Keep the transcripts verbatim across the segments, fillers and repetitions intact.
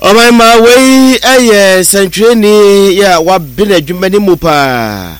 Ɔman ma wei ɛyɛ sɛntwerɛni yɛ a wabene adwuma no mu paa,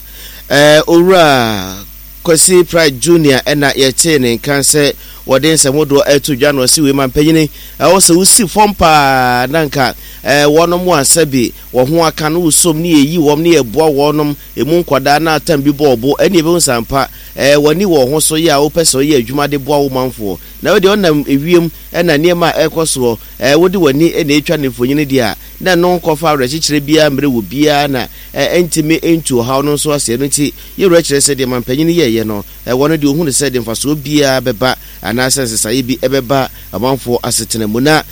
ɛɛ Owura Kwasi Pratt Junior, ɛna yɛtee ne nka sɛ wɔde nsɛm hodoɔ ɛto dwa no. Ɔsi wei ma mpanyini ɛwɔ sɛ wosi fam paa na nka ɛɛ wɔnom asɛbi wɔn ho aka no wosom ne yɛyi wɔn ne yɛboa wɔnom emu nkwadaa na atam bi bɔ ɔbo ɛne ebi nsampa ɛɛ wɔni wɔn ho so yɛ a wopɛ sɛ ɔyɛ adwuma de boa wo manfoɔ na wɔde ɔnam ewiem ɛna nneɛma a ɛkɔ soɔ ɛɛ wode w'ani ɛna etwa ne mfonyin deɛ a na ɛno nkɔfa awerɛkyekyerɛ biara mmerɛ wɔ biara na ɛɛ ɛntumi ntu ɔhaw no nso aseɛ no. Nti yɛwura kyerɛ sɛ deɛ mampanyin yɛɛyɛ no, ɛwɔ no deɛ ohun sɛ de mfasoɔ biara bɛba anaasɛ nsesaeɛ bi ɛbɛba amanfoɔ asetena mu. Na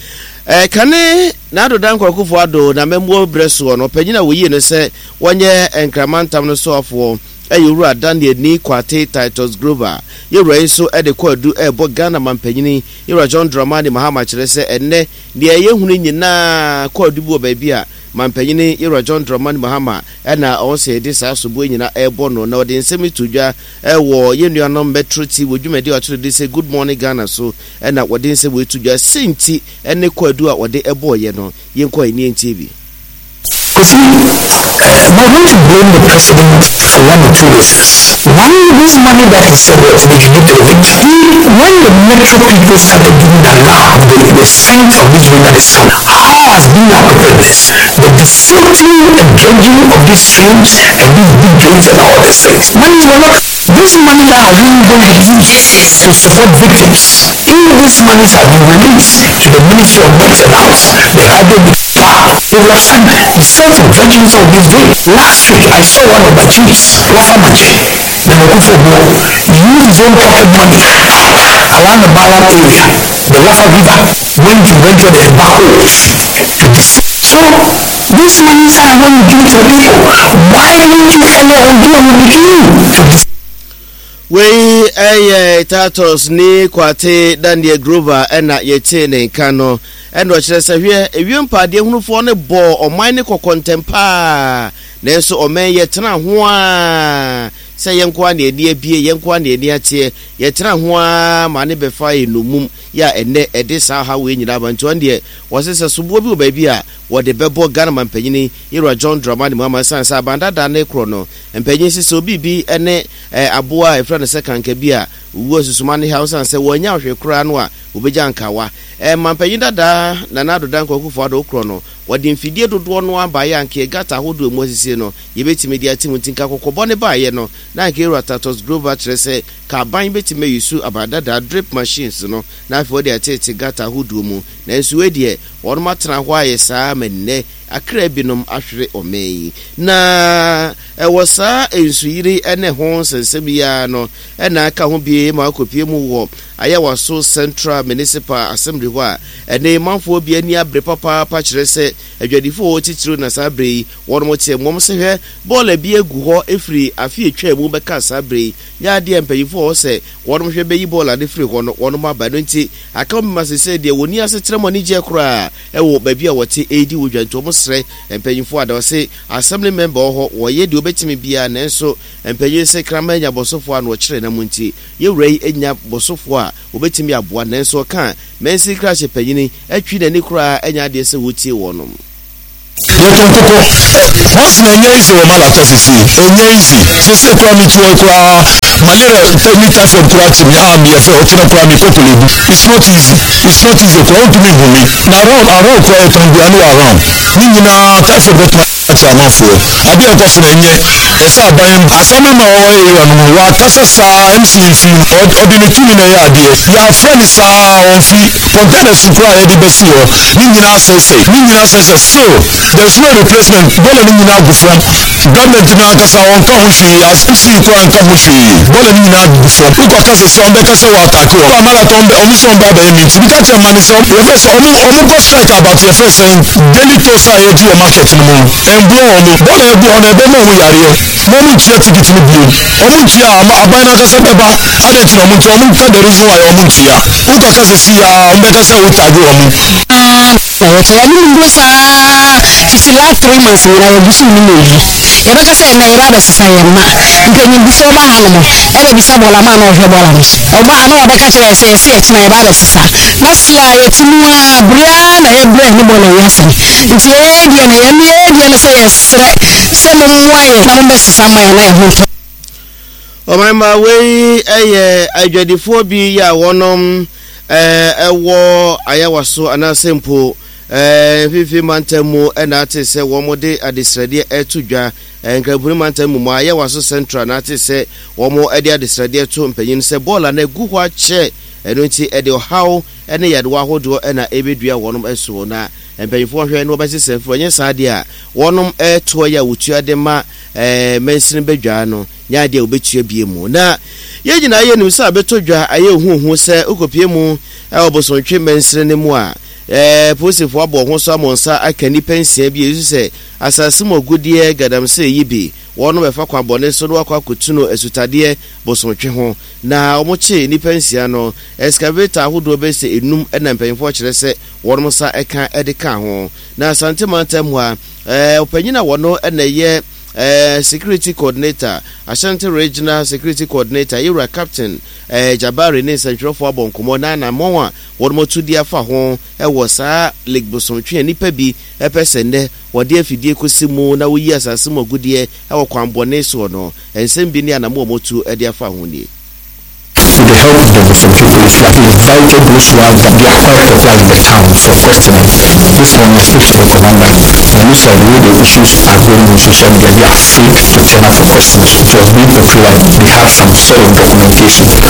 ɛɛ kane na Addo Dankwa Akufo Addo na mɛmuo brɛ soɔ no, ɔpanyin a wɔyie no sɛ wɔnyɛ Nkramantam no soafoɔ ɛyɛ Owura Daniel Nii Kwartei Titus Glover. Yɛwura yi nso ɛde kɔ adu ɛrebɔ Ghana mampanyini yɛwura John Dramani Mahama kyerɛ sɛ ɛnnɛ deɛ ɛyɛ hunu nyinaa kɔ adu bi wɔ baabi a mampanyini yɛwura John Dramani Mahama ɛna ɔwɔ sɛ yɛde saa soboɔ nyinaa ɛrebɔ no. Na ɔde nsɛm to dwa ɛwɔ yɛn nuanom Metro T V wɔ dwumadi a ɔkyerɛ de sɛ Good Morning Ghana so, ɛna wɔde nsɛm wɔ eto dwa sɛnti ɛne kɔ adu a wɔde ɛbɔɔyɛ no. Yɛnkɔ ani ntie bi. You see, uh, I want to blame the president for one or two reasons. One, this money that he said was they should give to the victim. He, when the metro people started giving the alarm, the, the scent of this rain that is coming, how has been our preparedness? The desilting and dredging of these streams and these big drains and all these things. Money were not. This money that has been going to be used to support victims. If these monies have been released to the Ministry of Works and House, the hydro they will have started desilting, dredging some of these drains. Last week, I saw one of my chiefs, Rafa Mache, Nenokufo, use his own pocket money around the Malam area, the Rafa River, went to venture the backhoes to desilt. So, these monies are going to give to the people. Why didn't you earlier on do on the beginning to desilt? Wei ɛyɛ Titus Nii Kwartei Daniel Glover ɛna yɛtie ne nka no, ɛna ɔkyerɛ sɛ hwɛ, ewiem paadeɛ hunufoɔ no bɔɔ ɔman ne kɔkɔ ntɛm paa, nanso ɔman yɛtena ho a sɛ yɛn nko a na ani abie, yɛn nko a na ani ateɛ, yɛtena ho a ma ne bɛfa yɛ nomum yɛ a ɛnɛ ɛde saa ha wei nyinaa ba. Nti ɔno deɛ wɔse sɛ soboɔ bi wɔ baabi a wɔde bɛbɔ Ghana mampanyini yɛwura John Dramani Mahama, ɛsiane sɛ abandada ne korɔ no mpanyin sisi obi bi ne aboa a yɛfrɛ no sɛ kanka bi a owu asusuma ne ha, ɔsiane sɛ wɔanya ahwɛ koraa no a wɔbɛgya nkawa. Mampanyin dada Nana Addo Dankwa Akufo Addo korɔ no, wɔde mfidie dodoɔ no abaeɛ a nka gutter ahodoɔ mu asisie no yɛbɛtumi de ate mu. Nti nka kɔkɔbɔ ne baeɛ no na nka yɛwura Titus Glover kyerɛ sɛ ka aban bɛtumi ayi su abadada drip machines no na afei wɔde atete gutter ahodoɔ mu. Nanso wei deɛ wɔnom atena hɔ ayɛ saa ma nnɛ akra binom ahwere ɔman yi. Na ɛwɔ saa nsuyiri ne ho nsɛnsɛm yi ara no ɛna aka ho bie ma akɔpie mu wɔ Ayawaso Central Municipal Assembly hɔ a ɛne manfoɔ bi ani abere papaapa kyerɛ sɛ adwadifoɔ wɔ titiriw na saa bere yi wɔnom te mmom sɛ hwɛ bɔɔla bi agu hɔ ɛfiri afe atwa mu bɛka saa bere yi nyɛ adeɛ mpanyinfoɔ wɔ sɛ wɔnom hwɛ bɛyi bɔɔla no firi hɔ no wɔnom aba no. Nti aka wɔn ma sɛ deɛ wɔni asekyerɛ mu anigyeɛ koraa ɛwɔ baabi a wɔte ɛredi wɔ dwa. Nti wɔn srɛ mpanyinfoɔ a da wɔse assembly member wɔ hɔ wɔyɛ deɛ wɔbɛtumi biara, nanso mpanyin sɛ kraman nya bɔsɔfoɔ a na wɔkyerɛ nam. Nti yɛwura yi anya bɔsɔfoɔ a wɔbɛtumi aboa, nanso ɔka mɛnsi krahyɛ panyini atwi n'ani koraa ɛnya adeɛ sɛ wɔtie wɔnom. Yɛtɔn kɔkɔ once na ɛnyɛ easy wɔ Malata sisi, ɛnyɛ easy sisi koraa. Mi tuo koraa malaria ni typhoid koraa ti mi a mi yɛ fɛ ɔkyerɛ koraa mi kɔ Korle Bu. It's not easy, it's not easy koraa. Ntumi hu mi na around around koraa yɛtɔn aduane wɔ around ne nyinaa typhoid bɛtuma ati amanfoɔ. Adeɛ ɛkɔ so na ɛnyɛ ɛsɛ aban asɛm ma ɔwɔ area no mu wakasa saa M C nfi ɔde ne tumi na ɛyɛ adeɛ yɛafrɛ ne saa ɔnfi containers koraa yɛde bɛsi hɔ ne nyinaa sɛsɛ ne nyinaa sɛsɛ. Still there is no replacement. Bɔɔla ne nyinaa gu fam. Government no ankasa ɔnka ho hwee, as M C koraa nka ho hwee. Bɔɔla ne nyinaa gu fam. Wokɔ kasa sɛ ɔmbɛka sɛ wɔ attack wɔ Amalata, ɔmbɛ ɔmo sɛ ɔmbɛ abɛyɛ meeting bi ka kyerɛ ma ne sɛ yɛfrɛ sɛ ɔmo ɔmo kɔ strike about yɛfrɛ sɛ daily toast a yɛgye wɔ market no mu no ɛmboa ɔmo. Bɔɔla ɛgu hɔ no ɛbɛma ɔmo yareɛ ma ɔmo ntua ticket no bio. Ɔmo ntua ama aban no ankasa bɛba ade nti na ɔmo ntua. Ɔmo nka the reason why ɔmo ntua. Wokɔ kasa si ya ɔmo bɛka sɛ wo tag ɔmo. Na yɛtɔ yɛne mu nduro saa fiti last three months nyinaa yɛgu so nim eyi yɛbɛka sɛ ɛnɛ yɛba abɛsesa yɛn mma mpanyinfoɔ ba ha nom ɛbɛbisa bɔɔla ma na ɔhwɛ bɔɔla no so ɔba a na wɔbɛka kyerɛ yɛ sɛ yɛsi ɛkyina yɛba abɛsesa na si a yɛte mu a bere a na yɛbrɛ. Yɛne bɔɔla nyɛ asɛm, nti yɛyɛ deɛ no, yɛne yɛyɛ deɛ no sɛ yɛsrɛ sɛ mommoa yɛ na mombɛsesa ma yɛ na yɛ ho ntɔ. Ɔmanma, wei yɛ adwadifoɔ bi yɛ a wɔnom ɛwɔ Ayawaso anaasɛ mpo Mfimfini Mantam mu, ɛna ate sɛ wɔn de adesrɛdeɛ ɛto dwa. Nkramponi Mantam mu mu Ayawaso Central na ate sɛ wɔn de adesrɛdeɛ to mpanyin sɛ bɔɔla no agu hɔ akyɛ, ɛno nti ɛde ɔhaw ne yadewa ahodoɔ ɛna ɛbɛdua wɔnom soɔ, na mpanyinfoɔ hwɛ na wɔbɛsesa mfiri. Ɔnyɛ saa deɛ a, wɔnom ɛtoɔ yɛ a wɔtua de ma ɛɛ mansini badwa no nyɛ adeɛ a wɔbɛtua bie mu. Na yɛn nyinaa yɛnim sɛ abɛtɔ dwa ayɛ ohuohu sɛ wokɔpie mu ɛwɔ Bosontwe mansini no mu a, ɛɛ polisifoɔ abɔ ho so ama nsa aka nnipa nsia bi a yɛsu sɛ asase mu agudeɛ galamsey yi bi wɔn bɛfa kwan bɔne so na wakɔ akɔtu no asutadeɛ Bosontwe ho. Na wɔn kye nnipa nsia no, excavator ahodoɔ bɛsɛ enum ɛna mpanyinfoɔ kyerɛ sɛ wɔn nsa ɛka ɛde ka ho. Na Asante Mantam mu a, ɛɛ ɔpanyin a wɔn ɛna ɛyɛ ɛɛ security coordinator, Ashanti Regional Security Coordinator, yɛwura Captain ɛɛ Jabari, ne nsɛntwerɛfoɔ abɔ nkɔmɔ na anammɔn a wɔn atu de afa ho ɛwɔ saa Lake Bosontwe a nnipa bi ɛpɛ sɛ nnɛ wɔde afidie kɔsi mu na woyi asase mu agudeɛ ɛwɔ kwan bɔne soɔ no, nsɛm bi ne anammɔn a wɔtu de afa ho nie. With the help of the Bosomtwe Police, we have invited those ones that they are quite popular in the town for questioning. This morning I spoke to the commander, and it looks like the way the issues are going on social media, they are afraid to turn up for questions. It was being portrayed like they have some sort of documentation. So